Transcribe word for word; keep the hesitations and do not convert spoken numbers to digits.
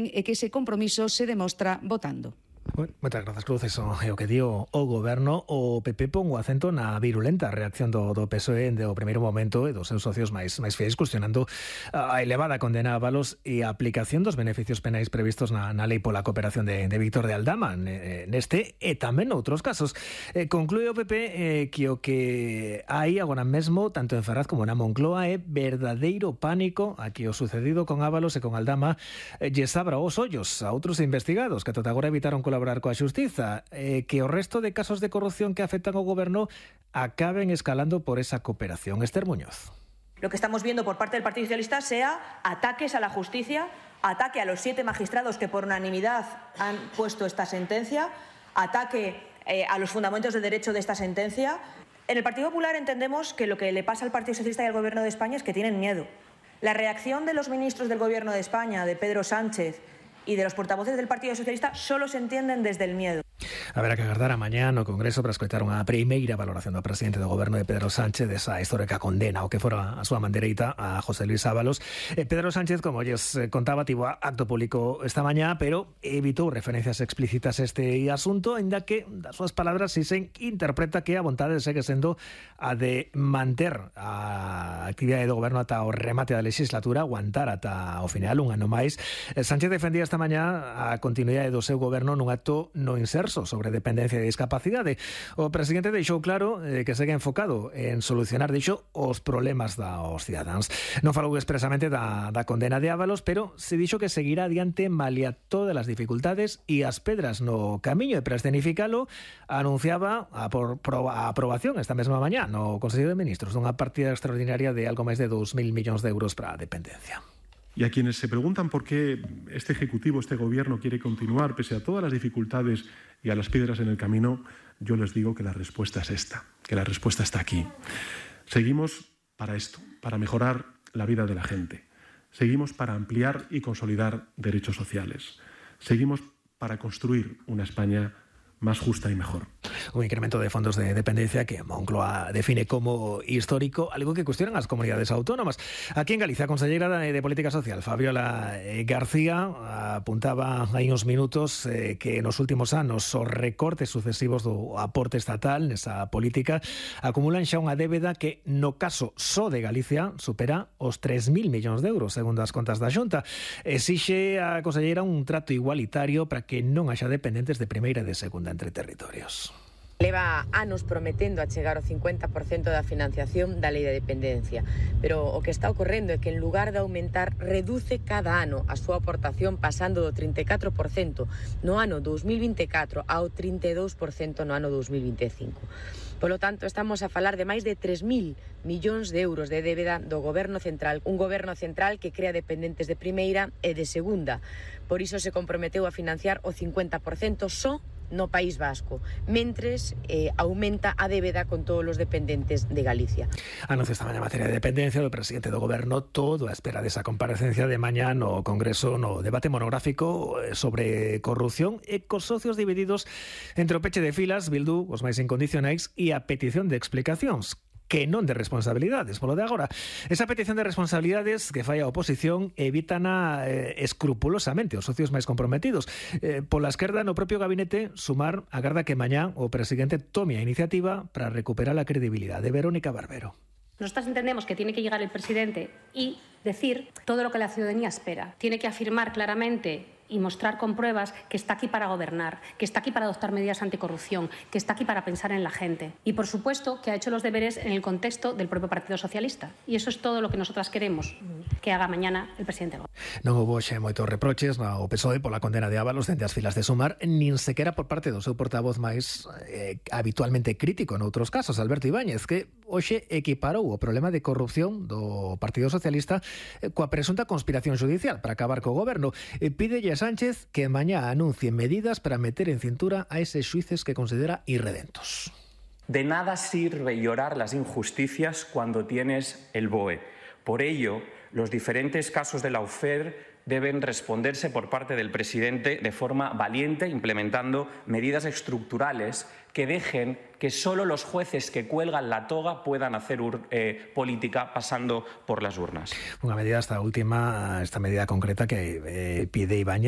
e que ese compromiso se demostra votando. Bueno, moitas grazas, Cruz. Eso é o que dio o Goberno. O P P pon o acento na virulenta reacción do, do P S O E do primeiro momento e dos seus socios máis, máis fiéis, cuestionando a elevada condena a Ábalos e a aplicación dos beneficios penais previstos na, na lei pola cooperación de, de Víctor de Aldama neste e tamén noutros casos. Eh, conclúe o P P eh, que o que hai agora mesmo, tanto en Ferraz como na Moncloa, é verdadeiro pánico a que o sucedido con Ábalos e con Aldama eh, lles abra os ollos a outros investigados que ata agora evitaron colaborar coa xustiza, eh, que o resto de casos de corrupción que afectan ao goberno acaben escalando por esa cooperación. Esther Muñoz. Lo que estamos viendo por parte del Partido Socialista sea ataques a la justicia, ataque a los siete magistrados que por unanimidad han puesto esta sentencia, ataque eh, a los fundamentos del derecho de esta sentencia. En el Partido Popular entendemos que lo que le pasa al Partido Socialista y al Gobierno de España es que tienen miedo. La reacción de los ministros del Gobierno de España, de Pedro Sánchez y de los portavoces del Partido Socialista, solo se entienden desde el miedo. Haberá que agardar a mañá no Congreso para escoitar unha primeira valoración do presidente do Goberno de Pedro Sánchez desa histórica condena o que fora a súa mandereita a José Luis Ábalos. Eh, Pedro Sánchez, como lles contaba, tivo acto público esta mañá, pero evitou referencias explícitas a este asunto, ainda que das súas palabras si se interpreta que a vontade segue sendo a de manter a actividade do Goberno ata o remate da legislatura, aguantar ata o final, un ano máis. Sánchez defendía esta mañá a continuidade do seu Goberno nun acto no inserso sobre dependencia e discapacidade. O presidente deixou claro eh, que segue enfocado en solucionar, dixo, os problemas dos cidadáns. Non falou expresamente da, da condena de Ábalos, pero se dixo que seguirá adiante malia todas as dificultades e as pedras no camiño, e para escenificalo anunciaba a, por, a aprobación esta mesma mañá no Consello de Ministros dunha partida extraordinaria de algo máis de dous mil millóns de euros para a dependencia. Y a quienes se preguntan por qué este Ejecutivo, este Gobierno quiere continuar pese a todas las dificultades y a las piedras en el camino, yo les digo que la respuesta es esta, que la respuesta está aquí. Seguimos para esto, para mejorar la vida de la gente. Seguimos para ampliar y consolidar derechos sociales. Seguimos para construir una España más justa y mejor. Un incremento de fondos de dependencia que Moncloa define como histórico, algo que cuestionan as comunidades autónomas. Aquí en Galicia, a conselleira de Política Social, Fabiola García, apuntaba hai uns minutos eh, que nos últimos anos os recortes sucesivos do aporte estatal nesa política acumulan xa unha débeda que, no caso só de Galicia, supera os tres mil millóns de euros, segundo as contas da Xunta. Exixe a conselleira un trato igualitario para que non haxa dependentes de primeira e de segunda entre territorios. Leva anos prometendo achegar o cincuenta por cento da financiación da lei de dependencia, pero o que está ocorrendo é que en lugar de aumentar, reduce cada ano a súa aportación pasando do trinta e catro por cento no ano dous mil vinte e catro ao trinta e dous por cento no ano dous mil vinte e cinco. Polo tanto, estamos a falar de máis de tres mil millóns de euros de débeda do Goberno Central, un Goberno Central que crea dependentes de primeira e de segunda. Por iso se comprometeu a financiar o cincuenta por cento só no País Vasco, mentres eh, aumenta a débeda con todos os dependentes de Galicia. Anuncio esta mañá materia de dependencia do presidente do Goberno, todo a espera desa comparecencia de mañá no Congreso no debate monográfico sobre corrupción e cos socios divididos entre o peche de filas, Bildu, os máis incondicionais, e a petición de explicacións, que non de responsabilidades, polo de agora. Esa petición de responsabilidades que fai a oposición evitana eh, escrupulosamente os socios máis comprometidos. Eh, pola esquerda, no propio gabinete, Sumar agarda que mañá o presidente tome a iniciativa para recuperar a credibilidade. Verónica Barbero. Nosotras entendemos que tiene que llegar el presidente y decir todo lo que la ciudadanía espera. Tiene que afirmar claramente y mostrar con pruebas que está aquí para gobernar, que está aquí para adoptar medidas anticorrupción, que está aquí para pensar en la gente. Y, por supuesto, que ha hecho los deberes en el contexto del propio Partido Socialista. Y eso es todo lo que nosotras queremos que haga mañana el presidente. Non houbo xe moitos reproches ao P S O E pola condena de Ábalos dende as filas de Sumar, nin sequera por parte do seu portavoz máis eh, habitualmente crítico noutros casos, Alberto Ibáñez, que hoxe equiparou o problema de corrupción do Partido Socialista eh, coa presunta conspiración judicial para acabar co goberno. E pídelle Sánchez que mañá anuncie medidas para meter en cintura a eses xuíces que considera irredentos. De nada sirve llorar las injusticias cuando tienes el B O E. Por ello, los diferentes casos de la U F E R deben responderse por parte del presidente de forma valiente, implementando medidas estructurales que dejen que solo los jueces que cuelgan la toga puedan hacer eh, política pasando por las urnas. Unha medida, esta última, esta medida concreta que eh, pide Ibáñez,